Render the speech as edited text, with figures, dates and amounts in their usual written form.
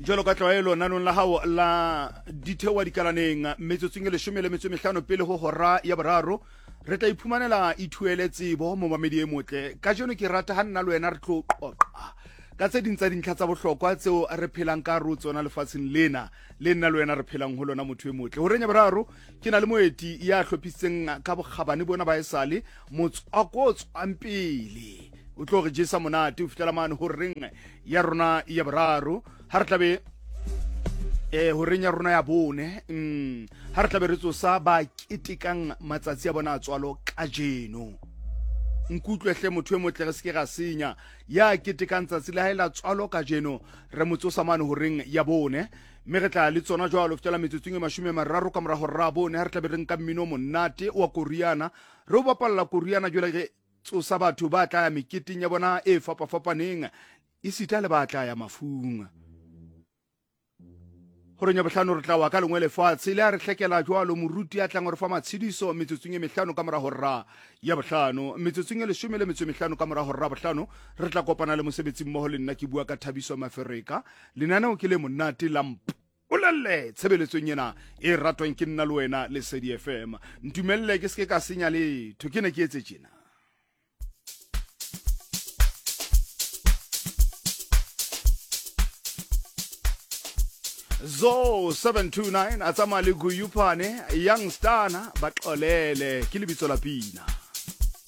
Jwalo ka tlwaelo nanong la hao la ditheoa dikalaneng metsotsong e leshome le metso e mehlano pele ho hora ya boraro re tla iphumanela ithuele tsebo momamedi e motle. Kajeno ke rata ha nna le wena re tlo qoqa ka tse ding tsa dintlha tsa bohlokwa tseo re phelang ka ro tsona lefatsheng lena le nna le wena re phelang ho lona motho e motle. Horeng ya boraro ke na le moeti ya hlophisitseng ka bokgabane bona ba esale motswako o tswang pele o tlo re jesa monate o fihlela mane horeng ya rona ya boraro ha re tlabe eh horeng ya rona ya bone ha re tlabe re tsosa ba ketekang matsatsi a bona a tswalo kajeno. Nkutlwe hle motho e motle, re se ke ra senya. Ya ketekang tsatsi la hae la tswalo kajeno re mo tsosa mane horeng ya bone, mme re tla le tsona jwalo fihlela metsotsong e 30 ka mora hora ya bone ha re tlabe re nka mmino monate wa koriana re o bapalla koriana jwale re tsosa batho ba tla ya meketeng ya bona e fapafapaneng esita le ba tla ya mafung. Horeng ya bohlano re tla wa ka lengwe lefatshe le a re hlekela jwalo moruti a tlang re fa matshediso metsotsong e mehlano ka mora hora ya bohlano. Metsotsong e leshome le metso e mehlano ka mora hora bohlano re tla kopana le mosebetsi mmoho le nna ke bua ka Thabiso Mafereka. Lenaneo ke le monate la mpolelle tshebeletsong ena e ratwang ke nna le wena Lesedi FM. Ntumelle ke se ke ka senya letho, ke ne ke etse tjena. Zo 729 a tsamaya le Guyuphane Youngstana ba xolele ke lebitso la pina.